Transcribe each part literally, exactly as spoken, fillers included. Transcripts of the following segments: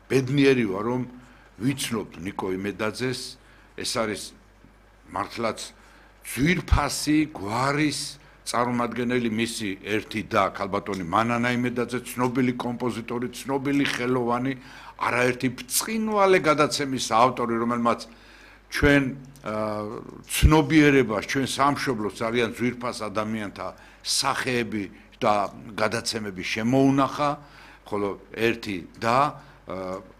ბედნიერი ვარ რომ ვიცნობ ნიკო იმედაძეს ეს არის მართლაც ძვირფასი გვარის წარმომადგენელი მისი ერთი და ქალბატონი მანანა იმედაძე ცნობილი კომპოზიტორი ცნობილი ხელოვანი არაერთი ბრწყინვალე გადაცემის ავტორი რომელმაც ჩვენ ცნობიერებას ჩვენ სამშობლოს ძალიან ძვირფას ადამიანთა სახეები და გადაცემები შემოუნახა ხოლო ერთი და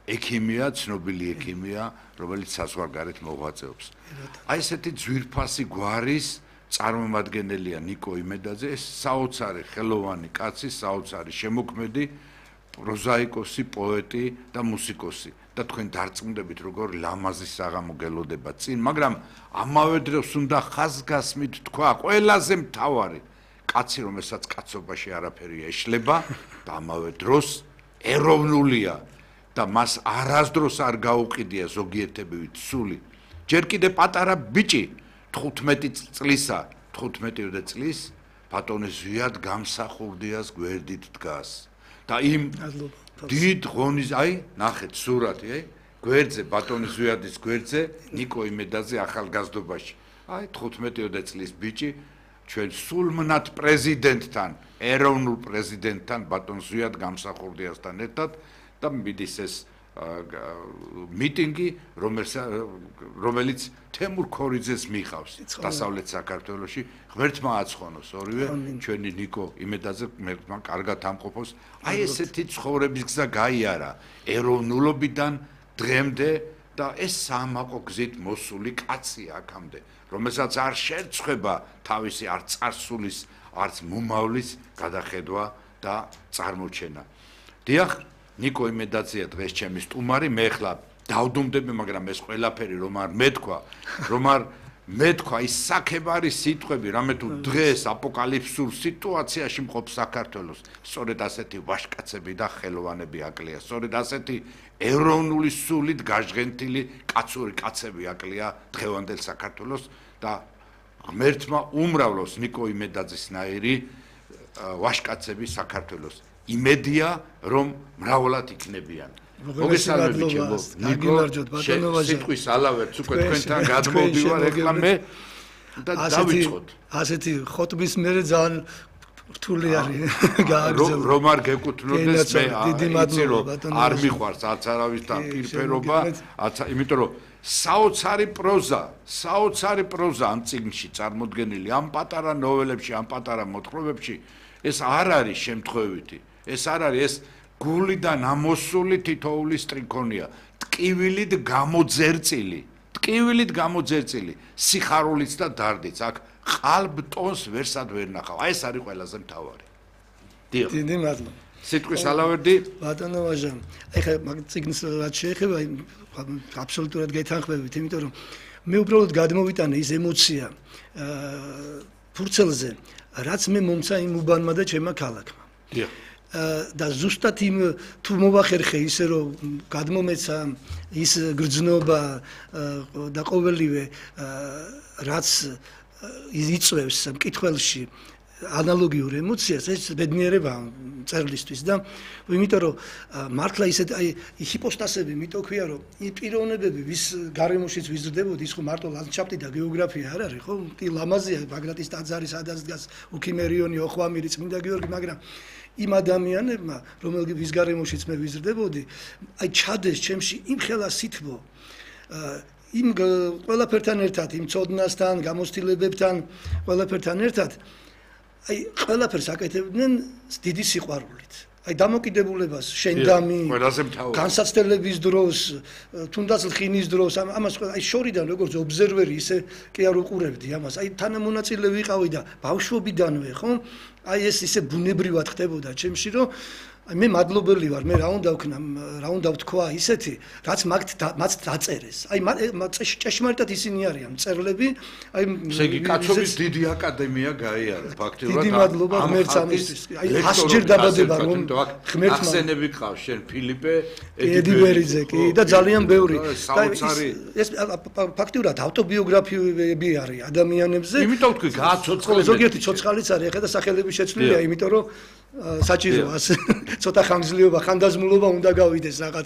ექიმია ცნობილი ექიმია რომელიც საზღვარგარეთ მოღვაწეობს აი ესეთი ძვირფასი გვარის წარმომადგენელია ნიკო იმედაძე ეს საოცარი ხელოვანი კაცი საოცარი შემოქმედი პროზაიკოსი პოეტი და მუსიკოსი და თქვენ დარწმუნდებით როგორ ლამაზი საღამო გელოდება წინ მაგრამ ამავე დროს უნდა ხაზგასმით თქვა ყველაზე მთავარი კაცი რომელსაც კაცობაში არაფერი ეშლება და ამავე დროს ეროვნულია და მას არასდროს არ გაუყიდია ზოგიერთებივით სული ჯერ კიდე პატარა ბიჭი თხუთმეტი წლისა თხუთმეტი წლის ბატონი ზვიად გამსახურდიას გვერდით დგას და იმ დიდ ღონის აი ნახეთ სურათი აი გვერდზე ბატონი ზვიადის გვერდზე ნიკო იმედაძე ახალგაზრდობაში აი თხუთმეტი წლის ბიჭი ჩვენ სულმნათ პრეზიდენტთან ეროვნულ პრეზიდენტთან ბატონ ზვიად გამსახურდიასთან ერთად და მიდის ეს მიტინგი რომელიც თემურ ქორიძეს მიყავს დასავლეთ საქართველოში ღმერთმა აცხონოს ორივე ჩვენი ნიკო იმედაძე ღმერთმა კარგად ამყოფოს აი ესეთი ცხოვრების გზა გაიარა ეროვნულობიდან დღემდე და ეს სამაყო გზით მოსული კაცია აქამდე რომელსაც არ შეერწყება თავისი არ წარსულის არც მომავლის გადახედვა და წარმოჩენა დიახ ნიკო იმედაძეა დღეს ჩემი სტუმარი მე ხლა დავდუმდები მაგრამ ეს ყველაფერი რომ არ მეთქვა რომ არ მეთქვა ის საქებარი სიტყვები რამე თუ დღეს აპოკალიფსურ სიტუაციაში მყოფ საქართველოს სწორედ ასეთი ვაჟკაცები და ხელოვანები აკლია სწორედ ასეთი ეროვნული სულით გაჟღენთილი კაცური კაცები აკლია დღევანდელ საქართველოს და ღმერთმა უმრავლოს ნიკო იმედაძისნაირი ვაჟკაცები საქართველოს იმედია რომ მრავლად იქნებიან მოგესალმებით ჩემო ნიკო სიტყვის ალავერც უკვე თქვენთან გადმოვდივარ ეხლა მე და დავიწყოთ ასეთი ხოტბის მერე ძალიან რთული არის გააგრძელო რომ არ გეკუთვნოდეს მე იცი რომ არ მიყვარს არც არავისთან პირფერობა იმიტომ რომ საოცარი პროზა საოცარი პროზა ამ წიგნში წარმოდგენილი ამ პატარა ნოველებში ამ პატარა მოთხრობებში ეს არ არის შემთხვევითი ეს არ არის ეს გულიდან ამოსული თითოეული სტრიქონია ტკივილით გამოძერწილი ტკივილით გამოძერწილი სიხარულით და დარდით აქ ყალბტონს ვერსად ვერ ნახავ აი ეს არის ყველაზე მთავარი დიახ დიდი მადლობა სიტყვის ალავერდი ბატონო ვაჟა ეხლა მაგ წიგნს რაც შეეხება აბსოლუტურად გეთანხმებით იმიტომ რომ მე უბრალოდ გადმოვიტანე ის ემოცია ფურცელზე რაც მე მომცა იმ უბანმა და ჩემმა ქალაქმა დიახ და ზუსტად იმ თუ მოვახერხე ისე რომ გადმომეცა ის გრძნობა და ყოველივე რაც იწვევს მკითხველში ანალოგიურ ემოციას ეს ბედნიერება წერლისთვის და იმიტომ რომ მართლა ისეთ აი ჰიპოსტასები მითო ქვია რომ იმ პიროვნებები ვის გარემოშიც ვიზრდებოდი ის ხო მარტო ლანდშაფტი და გეოგრაფია არ არის ხო ლამაზია ბაგრატის ტაძარი სადაც დგას უქიმერიონი ოხვამირი წმინდა გიორგი მაგრამ იმ ადამიანებმა რომელების გარემოშიც მე ვიზრდებოდი აი ჩადეს ჩემში იმ ხელა სითბო იმ ყველაფერთან ერთად იმ ცოდნასთან გამოცდილებებთან ყველაფერთან ერთად აი ყველაფერს აკეთებდნენ დიდი სიყვარულით აი დამოკიდებულებას შენდამი განსაცდელების დროს თუნდაც ლხინის დროს ამას აი შორიდან როგორც ობზერვერი ისე კი არ უყურებდი ამას აი თანამონაწილე ვიყავი და ბავშვობიდანვე ხო აი ეს ისე ბუნებრივად ხდებოდა ჩემში რომ აი მე მადლობელი ვარ მე რა უნდა ვქნა რა უნდა ვთქვა ისეთი რაც მათ დაწერეს აი ჭეშმარიტად ისინი არიან მწერლები აი ესე იგი კაცობის დიდი აკადემია გაიარა ფაქტობრივად დიდი მადლობა ღმერთს ამისთვის აი ასჯერ დაბადება რომ ღმერთმა ახსენები ყავს შენ ფილიპე ედიბერიძე კი და ძალიან ბევრი ეს ფაქტობრივად ავტობიოგრაფიები არის ადამიანებზე იმიტომ თქვი გააცოცხლე ზოგიერთი ცოცხალიც არის ეხლა და სახელები შეცვლილია იმიტომ რომ საჭიროა ცოტა ხანგრძლივობა ხანდაზმულობა უნდა გავიდეს რაღაც